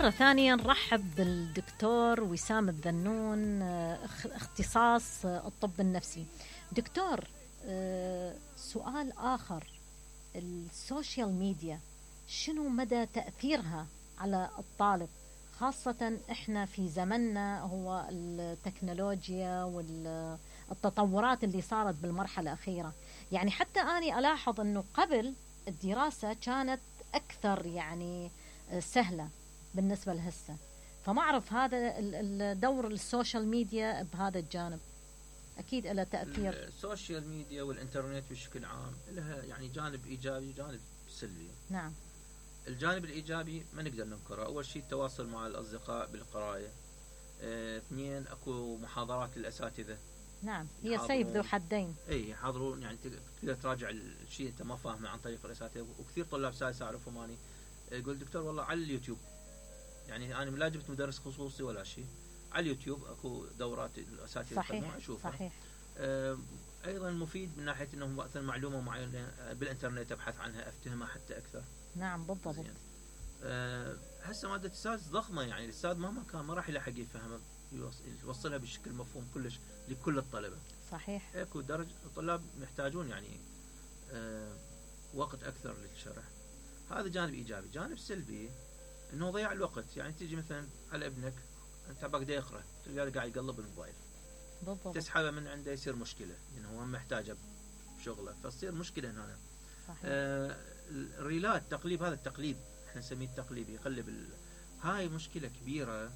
مرة ثانية نرحب بالدكتور وسام الذنون، اختصاص الطب النفسي. دكتور، سؤال آخر، السوشيال ميديا شنو مدى تأثيرها على الطالب، خاصة إحنا في زمننا هو التكنولوجيا والتطورات اللي صارت بالمرحلة الأخيرة. يعني حتى أنا ألاحظ أنه قبل الدراسة كانت أكثر يعني سهلة بالنسبة لهسه، فما أعرف هذا الدور السوشيال ميديا بهذا الجانب أكيد له تأثير. السوشيال ميديا والإنترنت بشكل عام لها يعني جانب إيجابي وجانب سلبي. نعم. الجانب الإيجابي ما نقدر ننكره، أول شيء التواصل مع الأصدقاء بالقراية، اثنين أكو محاضرات للأساتذة. نعم، هي سيف ذو حدين. اي يحاضرون، يعني تقدر تراجع الشيء انت ما فاهمه عن طريق الاساتذه. وكثير طلاب سادس اعرفهم اني يقول دكتور والله على اليوتيوب، يعني انا لا جبت مدرس خصوصي ولا شيء، على اليوتيوب اكو دورات الاساتذه صحيح اشوفها. صحيح. ايضا مفيد من ناحيه انه مثلا معلومه معينه بالانترنت ابحث عنها افتهمها حتى اكثر. نعم بالضبط. هسه ماده السادس ضخمه، يعني الاستاذ مهما كان ما راح يلحق يفهمها يوصلها بشكل مفهوم كلش لكل الطلبه. صحيح. اكو درجه الطلاب محتاجون يعني وقت اكثر للشرح. هذا جانب ايجابي. جانب سلبي انه ضياع الوقت، يعني تيجي مثلا على ابنك انت بقى يقرا تلقاه قاعد يقلب الموبايل بالضبط، تسحبه من عنده يصير مشكله لانه هو محتاجه بشغله، فتصير مشكله هنا. صحيح. الريلات تقليب، هذا التقليب احنا نسميه التقليب، يقلب هاي مشكله كبيره.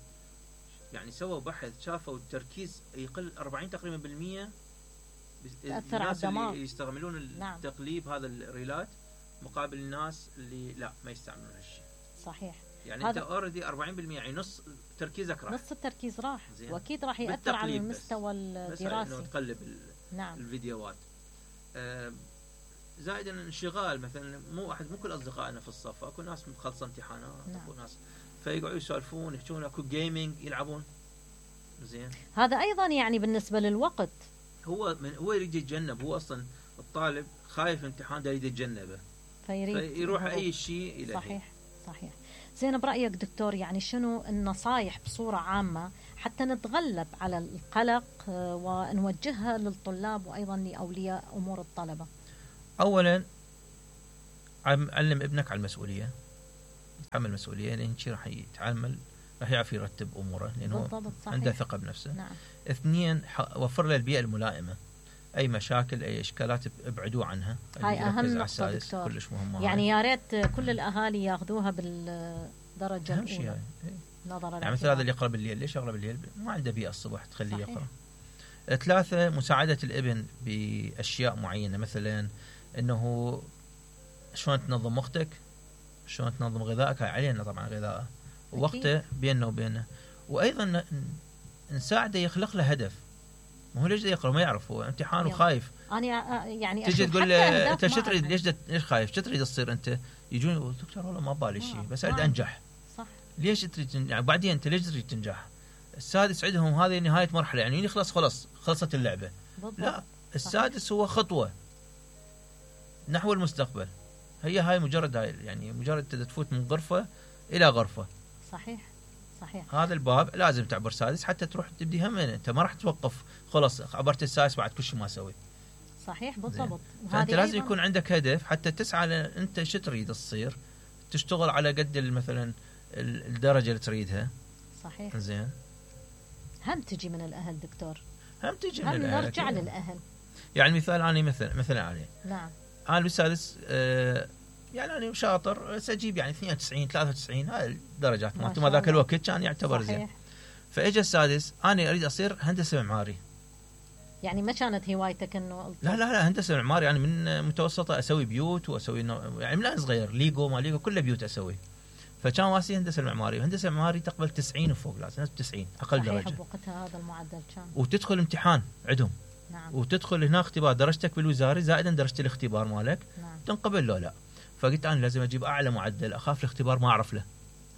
يعني سووا بحث شافوا التركيز يقل 40 تقريبا بالمية تأثر على الدماغ اللي يستعملون التقليب. نعم. هذا الريلات مقابل الناس اللي لا ما يستعملون هالشيء. صحيح. يعني انت اوريدي 40% يعني نص تركيزك راح، نص التركيز راح، واكيد راح ياثر على المستوى الدراسي. انه تقلب نعم. الفيديوهات. زائدا انشغال، مثلا مو كل اصدقائنا في الصف، اكو ناس مخلصه امتحانات. نعم. اكو ناس فيقعدوا يسولفون يحكون، اكو جيمنج يلعبون. زين، هذا ايضا يعني بالنسبه للوقت هو يريد يتجنب. هو اصلا الطالب خايف امتحان ده يريد يتجنبه، فيروح اي شيء الى صحيح صحيح. زين، برايك دكتور يعني شنو النصائح بصوره عامه حتى نتغلب على القلق ونوجهها للطلاب وايضا لاولياء امور الطلبه؟ اولا علم ابنك على المسؤوليه، يتحمل مسؤوليه، لان شيء راح يتعامل، راح يعرف يرتب اموره لانه عنده ثقه بنفسه. نعم. اثنين وفر له البيئه الملائمه، اي مشاكل اي اشكالات ابعدوه عنها. هاي اهم نقطه دكتور، كلش مهمه. يعني يا ريت كل الاهالي ياخذوها بالدرجه اهم شيء نظرا يعني مثل هذا اللي يقرا بالليل، ليش يقرا بالليل؟ ما عنده بيئه الصبح تخليه يقرا. ثلاثه مساعده الابن باشياء معينه، مثلا انه شلون تنظم وقتك، شلون تنظم غذائك، هاي علينا طبعا غذائه ووقته بيننا وبينه. وايضا نساعده يخلق له هدف. ما هو ليش يقرا ما يعرف، هو امتحان وخايف. انا يعني تجي تقول له انت شو تريد، ليش خايف، شو تريد تصير انت؟ يجون دكتور والله ما بالي شيء، بس اريد انجح. صح. ليش تريد تنجح؟ بعدين انت ليش تريد تنجح؟ السادس عندهم هذه نهايه مرحله، يعني خلصت اللعبه. بالضبط. لا، السادس هو خطوه نحو المستقبل. هاي مجرد يعني مجرد تفوت من غرفه الى غرفه. صحيح صحيح. هذا الباب لازم تعبر سادس حتى تروح تبدي هم، انت ما راح توقف خلاص عبرت السادس بعد كل شيء ما اسوي. صحيح بالضبط. فانت لازم يكون عندك هدف حتى تسعى انت شو تريد تصير، تشتغل على قد مثلا الدرجه اللي تريدها. صحيح. زين، هم تجي من الاهل دكتور، هم تجي من الاهل، نرجع للاهل. يعني مثال انا مثلا علي، نعم، انا بالسادس يعني انا شاطر، ساجيب يعني 92 93 هاي الدرجات مالتي، ما ذاك الوقت كان يعتبر زين. فاجى السادس انا اريد اصير هندسه معماري. يعني ما كانت هوايتك انه؟ لا هندسه معماري، يعني من متوسطه اسوي بيوت واسوي يعني من صغير ليجو ما ليجو كله بيوت اسوي. فكان واسي هندسه المعماري، وهندسه المعماري تقبل 90 وفوق، لازم 90 اقل درجه. صحيح، بوقتها هذا المعدل كان. وتدخل امتحان عندهم. نعم. وتدخل هنا اختبار درجتك بالوزاري زائدا درجه الاختبار مالك. نعم. تنقبل له لا. فقلت انا لازم اجيب اعلى معدل، اخاف الاختبار ما اعرف له،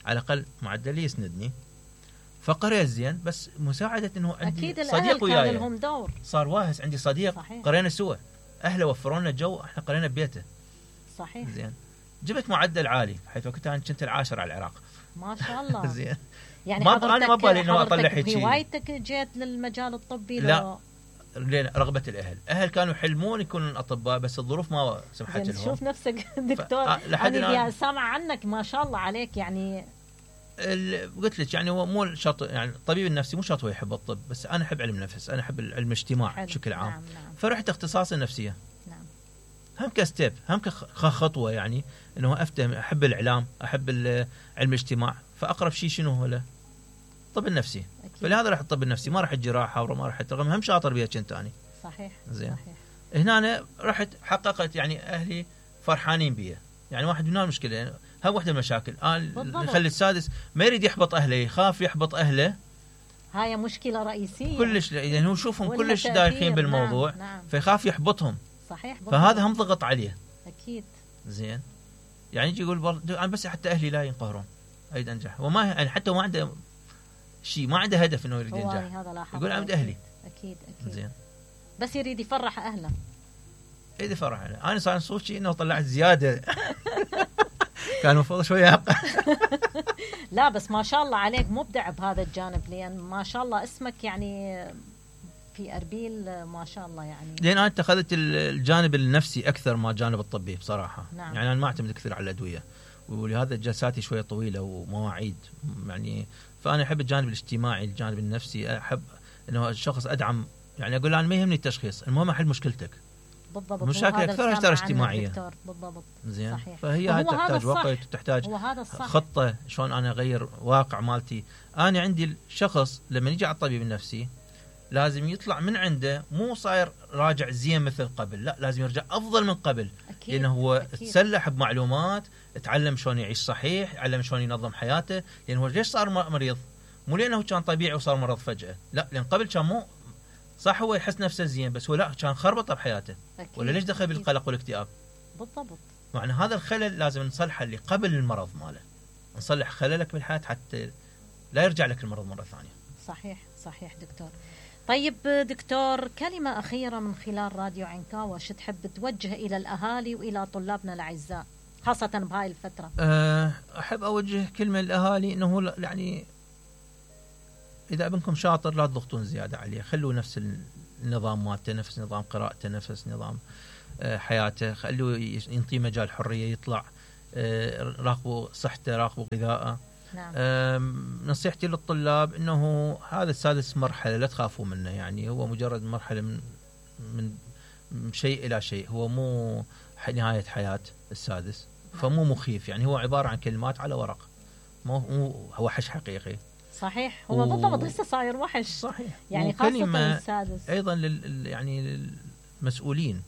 على الاقل معدلي يسندني. فقريت زين، بس مساعده انه عندي صديق وياي، لهم دور. صار واهس عندي صديق. صحيح. قرينا سوا، اهله وفروا لنا جو، احنا قرينا ببيته. صحيح. زين، جبت معدل عالي، حيث وقتها كنت العاشر على العراق. ما شاء الله. زين. يعني انا ما بالي انه اطلع هيك هوايتك جيت للمجال الطبي؟ لا، رغبة الأهل كانوا يحلمون يكونون أطباء، بس الظروف ما سمحت لهم. شوف نفسك دكتور، أنا سامع عنك ما شاء الله عليك. يعني قلت لك يعني هو مو شرط، يعني الطبيب النفسي مو شرط هو يحب الطب، بس أنا أحب علم النفس، أنا أحب علم الاجتماع بشكل عام. نعم. فرحت اختصاص النفسية. نعم. هم كستيب، هم كخطوة، يعني إنه أفتهم، أحب الإعلام، أحب علم الاجتماع، فأقرب شيء شنو هو له؟ الطب النفسي. أكيد. فلهذا راح الطب النفسي، ما راح الجراحة وما راح رغم هم شاطر بيها كنت أنا. صحيح. زين. صحيح. هنا أنا رحت حققت، يعني أهلي فرحانين بيها. يعني واحد من المشكلة، يعني هاي واحدة من المشاكل. يخلي السادس ما يريد يحبط أهله، يخاف يحبط أهله. هاي مشكلة رئيسية كلش، يعني هو يشوفهم كلش دايخين بالموضوع. نعم. فيخاف يحبطهم. صحيح. فهذا هم ضغط عليه. أكيد. زين. يعني يجي يقول أنا بس حتى أهلي لا ينقهرون أريد أنجح، وما يعني حتى ما عنده شيء، ما عنده هدف إنه يريد ينجح. يقول عند أهلي. أكيد. زين. بس يريد يفرح أهله. يريد يفرح أهله. أنا صار صوتي إنه طلعت زيادة. كان المفروض شوية لا بس ما شاء الله عليك مبدع بهذا الجانب، لأن ما شاء الله اسمك يعني في أربيل ما شاء الله. يعني لأن أنا اتخذت الجانب النفسي أكثر ما الجانب الطبي بصراحة. نعم. يعني أنا ما أعتمد كثير على الأدوية، ولهذا جلساتي شوية طويلة ومواعيد. يعني فأنا أحب الجانب الاجتماعي، الجانب النفسي. أحب إنه الشخص أدعم، يعني أقول أنا ما يهمني التشخيص، المهم أحل مشكلتك. بالضبط. مشاكل أكثر اجتماعية. بالضبط. زين. صحيح. فهي هاي تحتاج وقت وتحتاج خطة شلون أنا أغير واقع مالتي. أنا عندي الشخص لما يجي على الطبيب النفسي لازم يطلع من عنده مو صاير راجع زين مثل قبل، لا لازم يرجع أفضل من قبل. أكيد. لأنه هو تسلح بمعلومات، تعلم شلون يعيش صحيح، تعلم شلون ينظم حياته. لأنه هو ليش صار مريض؟ مو لأنه كان طبيعي وصار مرض فجأة، لا، لأن قبل كان مو صح، هو يحس نفسه زين بس هو لا، كان خربطه بحياته. أكيد. ولا ليش دخل بالقلق والاكتئاب؟ بالضبط. معنى هذا الخلل لازم نصلحه اللي قبل المرض ماله، نصلح خللك بالحياة حتى لا يرجع لك المرض مرة ثانية. صحيح. صحيح دكتور. طيب دكتور، كلمة أخيرة من خلال راديو عنكاوة شو تحب توجه إلى الأهالي وإلى طلابنا الأعزاء خاصة بهاي الفترة؟ أحب أوجه كلمة للأهالي إنه يعني إذا ابنكم شاطر لا تضغطون زيادة عليه، خلوا نفس النظام مالته، نفس نظام قراءته، نفس نظام حياته، خلوا ينطي مجال حرية يطلع. راقبوا صحته، راقبوا غذاءه. نعم. نصيحتي للطلاب إنه هذا السادس مرحلة لا تخافوا منه، يعني هو مجرد مرحلة من شيء إلى شيء، هو مو نهاية حياة السادس. فمو مخيف، يعني هو عبارة عن كلمات على ورق، مو هو وحش حقيقي. صحيح. هو بالضبط هسه صاير وحش. صحيح. يعني خاصة السادس. أيضا يعني للمسؤولين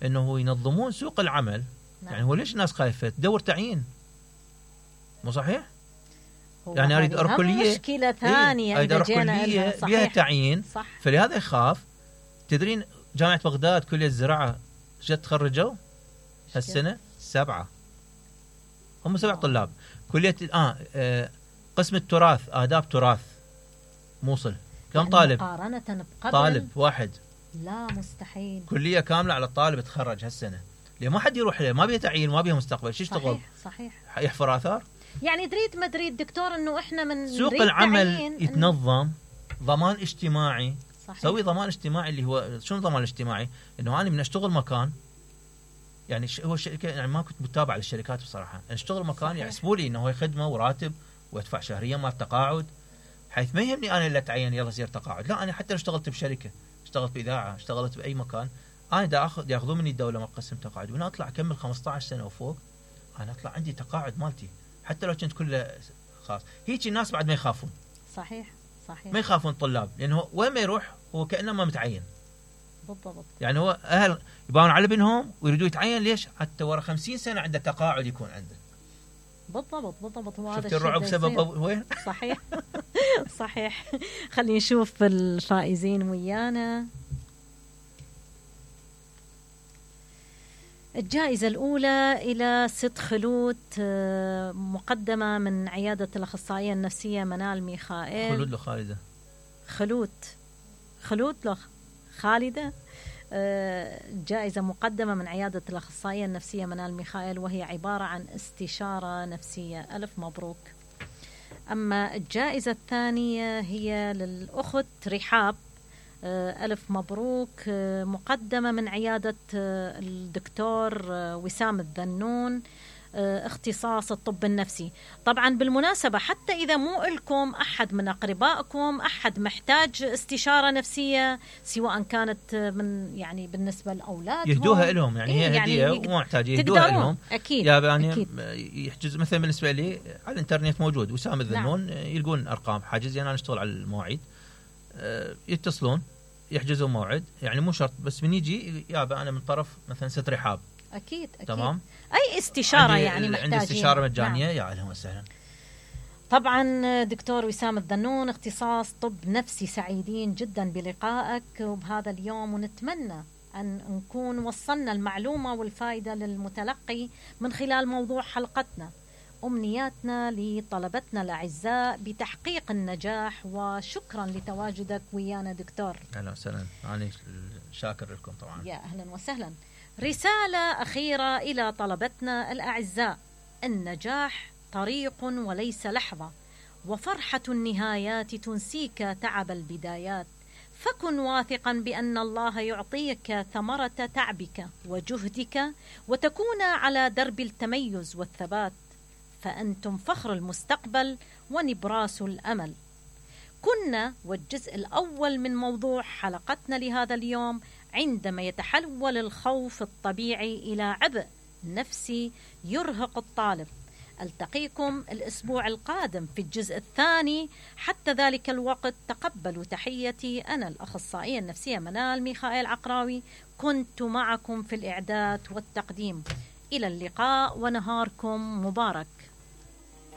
إنه ينظمون سوق العمل. نعم. يعني هو ليش الناس خايفة تدور تعيين؟ مو صحيح؟ يعني أريد كلية، مشكلة ثانية. إذا كلية بها تعيين. صح. فلهذا يخاف. تدرين جامعة بغداد كلية الزراعة جت تخرجوا هالسنة 7، هم 7 طلاب. كلية قسم التراث، آداب تراث موصل، كم يعني طالب؟ مقارنة بقبل طالب واحد. لا مستحيل. كلية كاملة على الطالب تخرج هالسنة. ليه ما حد يروح له؟ ما بيه تعيين، ما بيه مستقبل، شو يشتغل؟ صحيح. يحفر آثار. يعني دريد ما دريد دكتور انه احنا من سوق العمل يتنظم، ضمان اجتماعي. صحيح. سوي ضمان اجتماعي. اللي هو شنو ضمان اجتماعي؟ انه انا من اشتغل مكان، يعني هو الشركه، يعني ما كنت متابع للشركات بصراحه، اشتغل مكان يحسبوا لي انه هو خدمه وراتب وادفع شهريا مال تقاعد، حيث ما يهمني انا اللي اتعين يلا صير تقاعد، لا، انا حتى لو اشتغلت بشركه، اشتغلت باذاعه، اشتغلت باي مكان، انا دا ياخذون مني الدوله مقسم تقاعد، وانا اطلع اكمل 15 سنه وفوق، انا اطلع عندي تقاعد مالتي حتى لو كنت كله خاص. هيك الناس بعد ما يخافون. صحيح. ما يخافون الطلاب، لانه وين ما يروح هو كانه ما متعين. بالضبط. يعني هو اهل يباون على ابنهم ويريدوا يتعين، ليش؟ حتى ورا 50 سنه عنده تقاعد يكون عنده. بالضبط. هو هذا الرعب سبب وين؟ صحيح. صحيح. خلينا نشوف الفائزين ويانا. الجائزة الأولى إلى ست خلود، مقدمة من عيادة الأخصائية النفسية منال ميخائيل. خلود لو خالدة؟ خلود لو خالدة. جائزة مقدمة من عيادة الأخصائية النفسية منال ميخائيل، وهي عبارة عن استشارة نفسية. ألف مبروك. أما الجائزة الثانية هي للأخت رحاب، ألف مبروك، مقدمة من عيادة الدكتور وسام الذنون، اختصاص الطب النفسي. طبعا بالمناسبة حتى إذا مو لكم أحد من أقربائكم أحد محتاج استشارة نفسية، سواء كانت من يعني بالنسبة لأولاد يهدوها لهم، يعني هي هدية ومو محتاج يهدوها لهم. أكيد يعني أكيد. يحجز مثلا بالنسبة لي على الإنترنت موجود وسام الذنون. نعم. يلقون أرقام حاجز، يعني أنا أشتغل على المواعيد، يتصلون يحجزوا موعد، يعني مو شرط بس من يجي يابا أنا من طرف مثلا ست رحاب. أكيد تمام. أي استشارة يعني محتاجين. عندي استشارة مجانية. نعم. يا أهلا وسهلا. طبعا دكتور وسام الذنون اختصاص طب نفسي، سعيدين جدا بلقائك وبهذا اليوم، ونتمنى أن نكون وصلنا المعلومة والفائدة للمتلقي من خلال موضوع حلقتنا. أمنياتنا لطلبتنا الأعزاء بتحقيق النجاح، وشكرا لتواجدك ويانا دكتور. أهلا وسهلا، أنا شاكر لكم طبعا. يا أهلا وسهلا. رسالة أخيرة إلى طلبتنا الأعزاء: النجاح طريق وليس لحظة، وفرحة النهايات تنسيك تعب البدايات، فكن واثقا بأن الله يعطيك ثمرة تعبك وجهدك، وتكون على درب التميز والثبات، فأنتم فخر المستقبل ونبراس الأمل. كنا والجزء الأول من موضوع حلقتنا لهذا اليوم: عندما يتحول الخوف الطبيعي إلى عبء نفسي يرهق الطالب. ألتقيكم الأسبوع القادم في الجزء الثاني. حتى ذلك الوقت تقبلوا تحيتي، أنا الأخصائية النفسية منال ميخائيل عقراوي، كنت معكم في الإعداد والتقديم. إلى اللقاء ونهاركم مبارك.